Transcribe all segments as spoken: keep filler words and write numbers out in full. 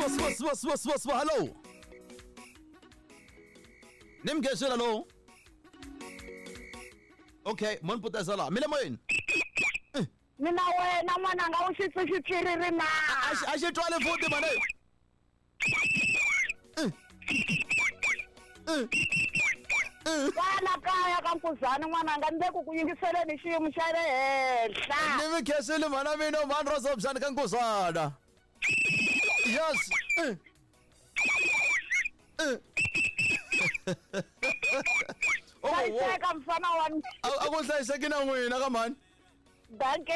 swa swa swa swa swa hello. Nimgezela lo. Okay, mon potezela. Mile moyeni. Mina wena n'wananga u xi xitswiriri na. A xi twale futhi mane. Kwala kaya ka Nkuzana n'wananga ni le ku ku yingiseleni xiyimo xa le henhla. Ni mi khensile mhana mina mhani ro Sobjani ka Nkuzana. Yes. Hlayiseka mfana wa mina. A ku hlayiseki na n'wina ka mhani. Dankie.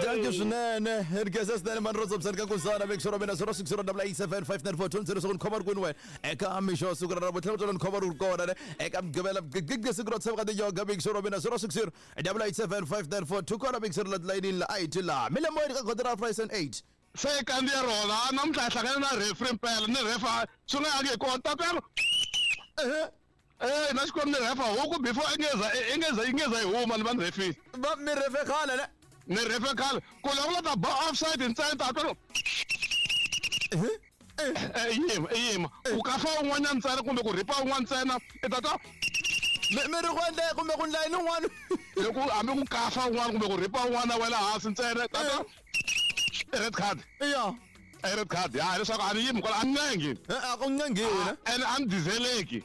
Dankie swinene. Ri khensa swinene mhani ro Sobjani ka Nkuzana. Make sure mina zero six zero double eight seven five nine four two zero seven khoma ri kwini wena. Eka mixo siku ra ravutlhanu tswela ni khoma ri kona ne. Eka Mugqivela gigi siku ro tsheva ka tinyoga make sure mina zero six zero double eight seven five nine four two kona make sure la layinini la a hi la. Mi le moyeni ka kotara five and eight. Se kandziya rona namuntlha hi hlangane na referee mpela ni refa swi nga yangi hi kona tatana. Eh na xikwembu ni refa huku before i ngeza i ngeza i ngeza yi huma ni va ni refile. Va mi refe khale ne? Ni refe khale ku loko la ta ba offside ntsena ta twa eh yima yima ku kafa un'wanyana ntsena kumbe ku ripa un'wana ntsena i ta twa mi ri ku endle kumbe ku ndla yini un'wana loko hambi ku kafa un'wana kumbe ku ripa un'wana wela hansi ntsena ta twa red card. Yeah. Red card. Ya leswaku a ni yimi kwala a ni ncengi. A ku ncengiwi ne? And a ni dizeleki.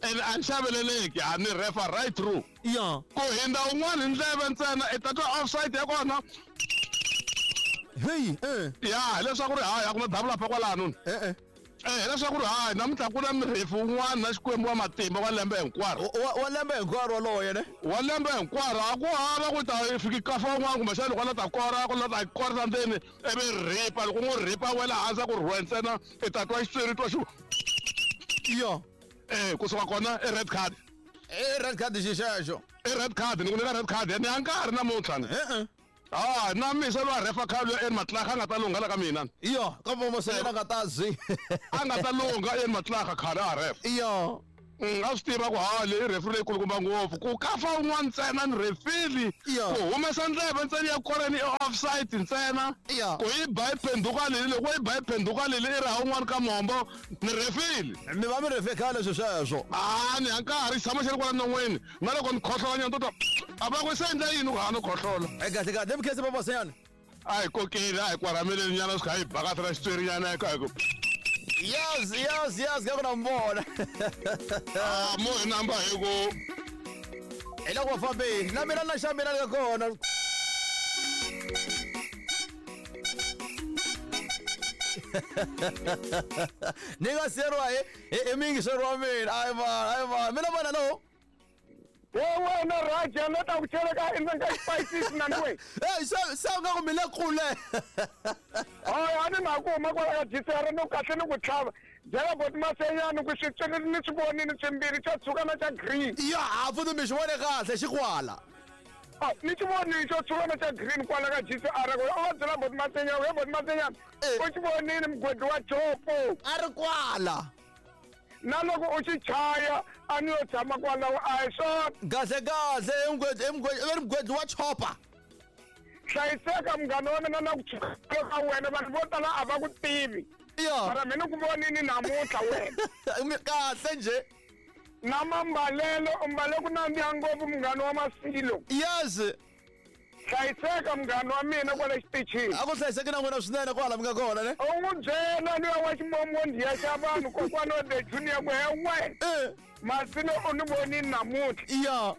And a ni xaveleleki. A ni refa right through. Yeah. Ku hindza un'wana hi ndleve ntsena i ta twa offside ya kona. Hey, eh. Ya leswaku ri hayi a ku na dabula pa kwalano. Eh eh. Eh leswaku ri hayi namuntlha ku na mirefi un'wana na Xikwembu wa matimba wa lembe hinkwaro. Wa lembe hinkwaro waloye ne? Wa lembe hinkwaro a ku hava ku ta fiki kafa un'wana kumbexana loko a la ta kora ku la ta korisa ndzeni ivi ripa loko n'wi ripa wela hansi ku rhuwa ntsena i ta twa xitswiri twa xi. Yo. Eh kusuka kona i red card. I red card xi xexo. I red card ni ku nyika red card ni ya nkarhi namuntlha ni. Eh eh. Ah, na misa lowa refa khale en Matlakha a nga ta lungha la ka mina. Iyo, ka vomo se yena nga ta zi. A nga ta lungha en Matlakha khale a refa. Iyo. A swi tiva ku ha leyi referee leyi kulukumba ngopfu ku kafa un'wana ntsena ni refili ku humesa ndleve ntsena ya koreni i offside ntsena ku yi ba yi phenduka leli loko yi ba yi phenduka leli i ri ha un'wana ka mombo ni refili. Mi va mi refe khale swi sweswo. A ni ya nkarhi xi tshama xi ri kwala non'wini na loko ni khohlola nyana to twa a va ku se endla yini ku ha no khohlola. E kahle kahle mi khensa Papa Senyana. A hi kokeli a hi kwarameleni nyana swi kha hi bakatela xitsweri nyana hi ku. Yes, yes, yes, ka ku na mbona. Ah, mo hi namba hi ku. Hi loko va fambile. Na mina na xa mina ni ka kona. Ni nga siyeriwa hi hi miyingiseri wa mina. Ayi va, ayi va. Mina vona no. He wena Raja no ta ku cheleka endzeni ka xipayisisi na we. Eh, se se nga ku mi le kule. Hayi a ni na ku huma kwala ka G C R no kahle ni ku tlhava. Byela boti Masenyani ku xitswiri ni swi vonile swimbirhi xo tshuka na xa green. Ya, a futhi mi xi vone kahle xi kwala. Ah, ni xi vonile xo tshuka na xa green kwala ka G C R ku u va byela boti Masenyani, he boti Masenyani. U xi vonile mugodi wa chopo. A ri kwala. Na loko u xi chaya a ni yo tshama kwalaho a hi swona. Kahle kahle i mugwedli mugwedli wa chopa. Hlayiseka munghana wa mina na ku tshuka ka wena vanhu vo tala a va ku tivi. Iyo. Mara mina ku vonini namuntlha wena. Kahle nje. Na mambalelo u mbale ku nandziha ngopfu munghana wa Masilo. Yes. Hlayiseka munghana wa mina kwala xitichini. A ku hlayiseki na n'wina swinene kwala mi nga kona ne? U n'wi byela luya wa ximomondiya xa vanhu kokwana wa the junior ku he wena. Eh. Masilo u ni vonini namuntlha. Iya.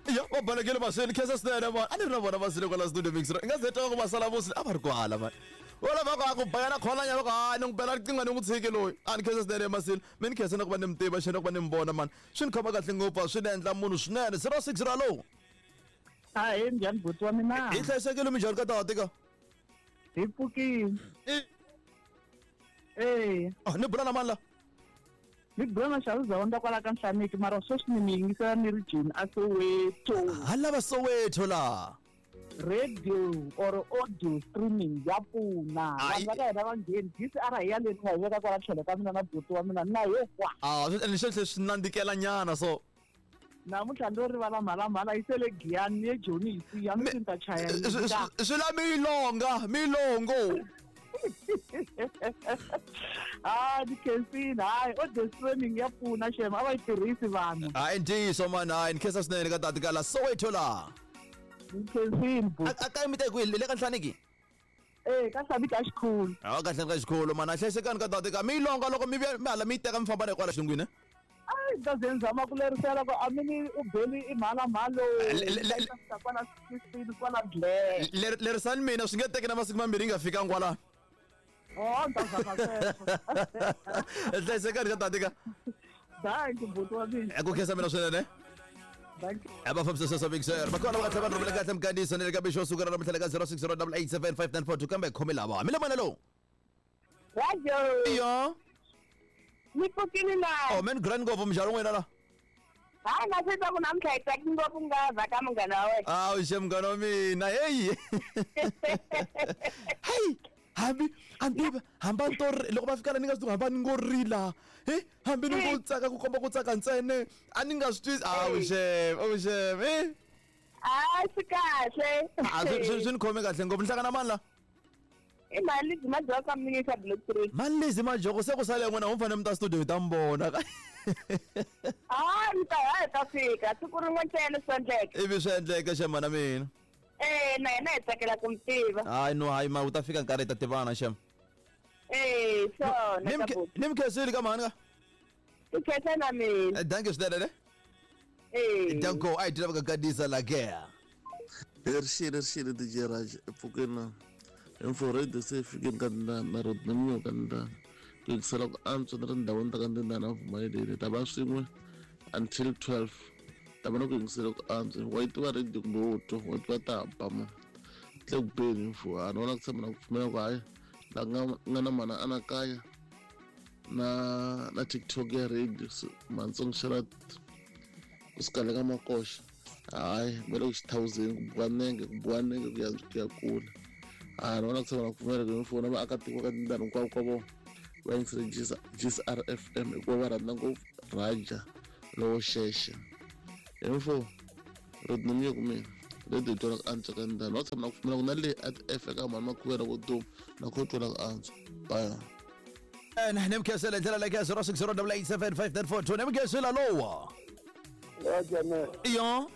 Iya, va balekile Masilo khensa swinene man. A ni ri na vona Masilo kwala studio mix. I nga ze twa ku va sala vosi a va ri kwala man. Wala va ku a ku bayana kholanya va ku hayi ni n'wi bela riqingho ni n'wi tshiki loyi. A ni khensa swinene Masilo. Mi ni khensa na ku va ni mi tiva xana ku va ni mi vona man. Swi ni khoma kahle ngopfu swi ni endla munhu swinene. zero six zero low. Ahee, njhani buti wa mina? Hi hlayisekile minjhani ka tata ka? Hi pfukile. Eh. Ah, ni bula na mani la? Ni bula na Xavier Zawanda kwala ka Nhlaneki mara sweswi ni mi yingisela ni ri Joni a Soweto. Ha lava Soweto la. Radio or audio streaming ya pfuna. Vanhu va ka hina va ngheni G C R hi ya leyi ni nga yi veka kwala tlhelo ka mina na buti wa mina na yo kwa. Ah, swi swi swi nandzikela nyana so. Namuntlha ndo rivala mhalamhala yi sele Giyani ni ye Joni hi siya ni ta chaya swi la milonga milongo. Ah, ni khensini hayi audio streaming ya pfuna xem a va yi tirhisi vanhu. Hayi ntiyiso mani hayi ni khensa swinene ka tati ka la Soweto la. Ni khensini bu. A ka mi te kwihi le ka Nhlaniki? Eh ka Nhlaniki a xikhulu. Ha ka Nhlaniki xikhulu mani a hlayisekani ka tati ka mi longa loko mi vuya mi hala mi yi teka mi famba na kwala xilungwini. Ai ta ze nzama ku lerisela ku a mi ni u beli i mhala mhalo kwala sixteen kwala Blair. Lerisani mina swi nge teki na masiku mambirhi yi nga fikanga kwala. Oh, ni ta zama sweswo. Hlayisekani ka tati ka. Dankie buti wa mina. Ku khensa mina swinene. Aba fambisa sweswo Big Sir. Makona va tlhela va rhumela kahle mkandiso ni le ka mixo suku ra namuntlha ka zero six zero eight eight seven five nine four two kambe khome lava. Mi le mona lowu. Rajo. Iyo. Ni pfukile na. Oh man grand ngopfu mujalo n'wina la. Hayi na swi twa ku namuntlha hi tsaki ngopfu nga vhaka munghana wa wena. Awu xe munghana wa mina heyi. Hey hambi hambi hamba ni to loko va fika la ni nga swi tivi hamba ni ngo rila he hambi ni ngo tsaka ku komba ku tsaka ntsena a ni nga swi twisi awu xem awu xem eh a swi kahle a swi swi ni khome kahle ngopfu ni hlangana mani la i mali lezi majoko ka minisa block three mali lezi majoko se ku sale n'wina u fanele mi ta studio hi ta mi vona a ni ta ha hi ta fika siku rin'we ntsena swi endleka ivi swi endleka xem mana mina. Eh na yena hi tsakela ku mi tiva. Hayi no hayi ma u ta fika nkarhi hi ta tivana xem. Eh swona ka buti. Ni mi khensile ka mhani ka. Ku khensa na mina. Dankie swinene ne. Eh. Danko a hi tiva ka gadisa la ke. Rixile rixile D J Raj epfukeni na info radio se fikeni ka na na road na miyo ka ndana. Ku yingisela ku antswa ni ri ndhawini ta ka ndana vumayeleni ta va swin'we until twelve. Ta vona ku yingisela ku antswa wa yi tiva radio kumbe wo twa wa tiva ta ba mo tle ku beni info a ni vona ku tshama na ku pfumela ku hayi la nga nga na mana anakanya na na TikTok ya radio Matsongo Sharat kusuka le ka makoxa hayi va le ku xithawuzeni ku buwa nenge ku buwa nenge ku ya ku ya kula a ni vona ku tshama na ku pfumela ku info na vaakatiko ka tindhawu hinkwavo ka vona va yingisele G S R F M hikuva va rhandza ngopfu Raja lowo xexe. Info radio ni ku mina radio twala ku antswa ka ndhawu va tshama na ku pfumela ku na le at F eka mhani makhuvela ku duma na ku twala ku antswa bye. Ni mi khensela hi ndlela leyi ka zero six zero eight eight seven five nine four two ni mi khensela lowa. Iyo.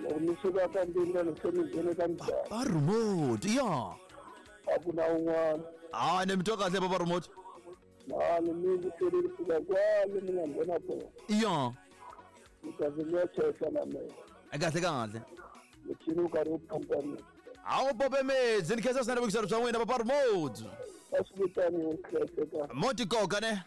Loko mi suka ka ndlela se mi nghene ka ndhawu. A remote iyo. A ku na un'wana. Ah ni mi twa kahle baba remote. Na ni mi vutele fika kwale mi nga nghena kona. Iyo. Kahle kahle kahle. Muchini wu karhi wu pompa mina. A wu pompe metsi ni khensa swinene vuyiselo bya n'wina papa remote. A swi vitani wu hlayiseka. Moti koka ne.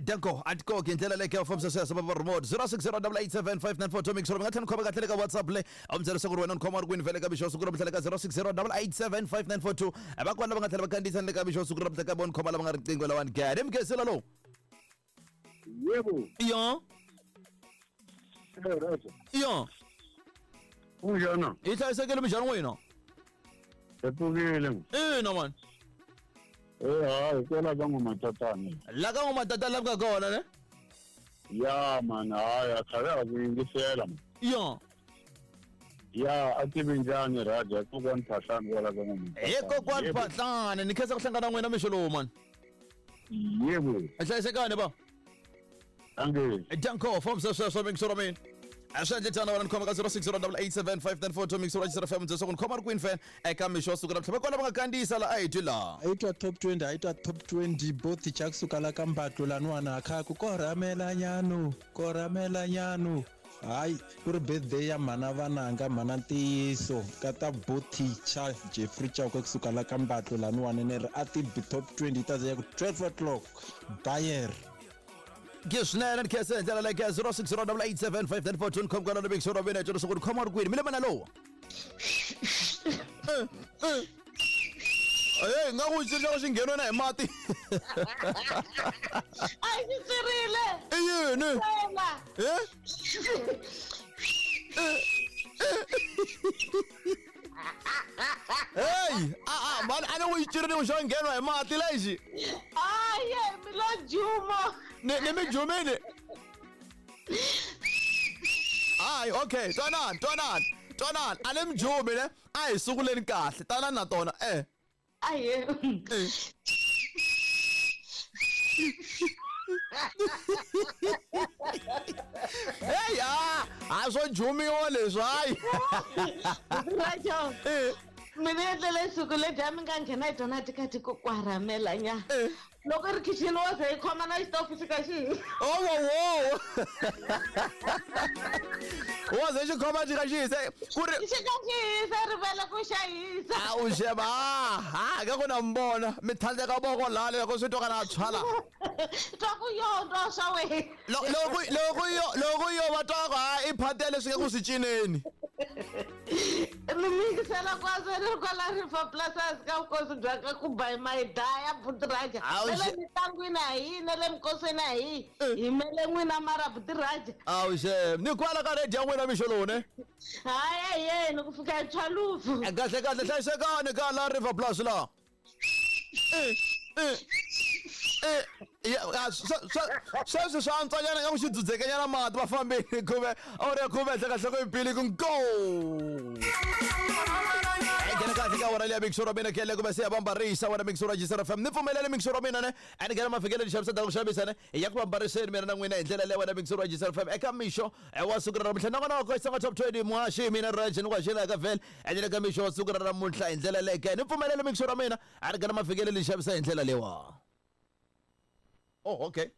Danko a tikoki hi ndlela leyi ka fambisa sweswo papa remote zero six zero eight eight seven five nine four two mix mi nga tlhela ni khoma kahle le ka WhatsApp le a mi byela leswaku ri wena ni khoma ri kwini vhele ka mixo siku ra namuntlha le ka zero six zero eight eight seven five nine four two va kona lava nga tlhela va kandziyisa ni le ka mixo siku ra namuntlha ka vona khoma lava nga riqingho lawani ke ni mi khensela lowu. Yebo. Iyo. Iyo. Kunjani? Hi hlayisekile minjhani n'wina? Hi pfukile. Ina mani. Eh hayi kwala ka n'wamatatana. La ka n'wamatatana la mi nga kona ne? Ya mani hayi a tlhave a ku yingisela. Iyo. Ya a tivi njhani Raja kokwani Phahlane kwala ka n'wamatatana. Hi kokwani Phahlane ni khensa ku hlangana na n'wina mixo lowu mani. Yebo. Hi hlayisekani ba. Dankie. Danko fambisa sweswo mixo ra mina. A swi endle tano wena ni khoma ka zero six zero eight eight seven five nine four two mixo ra G S R F M leswaku ni khoma ri kwini fan eka mixo wa siku ra namuntlha va kona va nga kandziyisa la a hi twi laha. A yi twa top twenty a yi twa top twenty both cha kusuka la ka mbatlo laniwana kha ku korhamela nyano korhamela nyano hayi ku ri birthday ya mhana vananga mhana ntiyiso ka ta boticha Jeffrey Chauke kusuka la ka mbatlo laniwana ni ri a ti bi top twenty ta ya ku twelve o'clock Bayer. Ke swinene ni khensa hi ndlela leyi ka zero six zero eight eight seven five nine four two ni khoma kwala na mixo ra mina hi twa leswaku ni khoma ri kwini mi le mana lowu. Hey nga ku xi xi ngheniwe na hi mati. A xi tsirile. I yini? Eh? Hey, ah ah man a ni ku xi cirile ku xo ngheniwa hi mati lexi. Aye, mi lo juma. Ni ni mi jumile. Hayi okay, twanani twanani twanani a ni mi jumi ne a hi sunguleni kahle tanani na tona eh. Aye. Hey, ah, a swo jumiwa leswi hayi. Rajo. Mina endlele siku ledya mi nga nghena hi tona tikati ku kwaramela nya. Loko ri kitchen wa ze yi khoma na xitofu xi ka xi. Oh wo wo. Wa ze xi khoma xi ka xi hisa ku ri xi ka xi hisa rivele ku xa hisa. A u xeva ha ka ku na mbona mi thandeka voko la loko swi twa na tshwala. Twa ku yo twa swa wena. Loko loko yo loko yo va twa ku ha i phatele swi nga ku swi cineni. Mi mingisela kwaze ri kwala River Plus ka vukosi bya ka ku ba my daya Butiraja. Le mitlangwini a hi na le minkosini a hi hi mele n'wina mara Butiraja. Awu xem ni kwala ka radio ya n'wina mixo lowu ne. Hayi yena ku fika hi tshwalufu. Kahle kahle hlayisekani ka la River Plus la. Eh eh eh ya sweswi swa antswanyana nga ku xi dzudzekanyana mati va fambile khume awuri ya khume henhla ka nhloko yimbili ku go nghena kahle ka wona leya mixo ra mina khele kumbe se ya bambarisa wona mixo ra G C F M ni pfumelele mixo ra mina ne a ni nghena mafikele xavisa ta ku xavisa ne ya ku bambariseni mina na n'wina hi ndlela leyi wona mixo ra G C F M eka mixo wa siku ra namuntlha nakona ko xitsonga top twenty muhaxi mina Raj ni ku haxela ka vhele ene ka mixo wa siku ra namuntlha hi ndlela leyi ke ni pfumelele mixo ra mina a ni nghena mafikele li xavisa hi ndlela leyiwa. Oh, okay.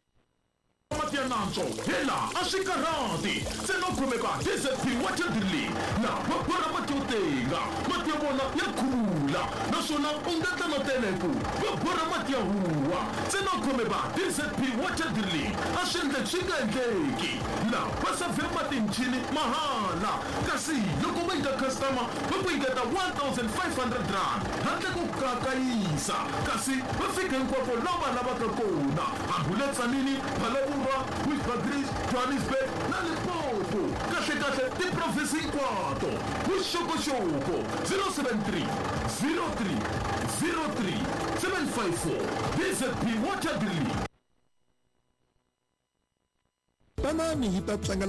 Mati ya nantswo hela a swi karhati ntsena u khomeka D Z P water drilling na va borha mati yo tenga mati ya vona ya khulula naswona u nga tla na teleku va borha mati ya huwa ntsena u khomeka D Z P water drilling a swi endleki swi nga endleki la va savhe mati michini mahala kasi loko va nyika customer va ku nyiketa one thousand five hundred rand handle ko kakayisa kasi va fika hinkwako laha va lavaka kona hambi le Tzaneen Phalaborwa Witwatersrand, Johannesburg na Limpopo kahle kahle tiprovinsi hinkwato vuxokoxoko zero seven three zero three zero three seven five four D Z P Water Drilling. Tanani hi ta tlanga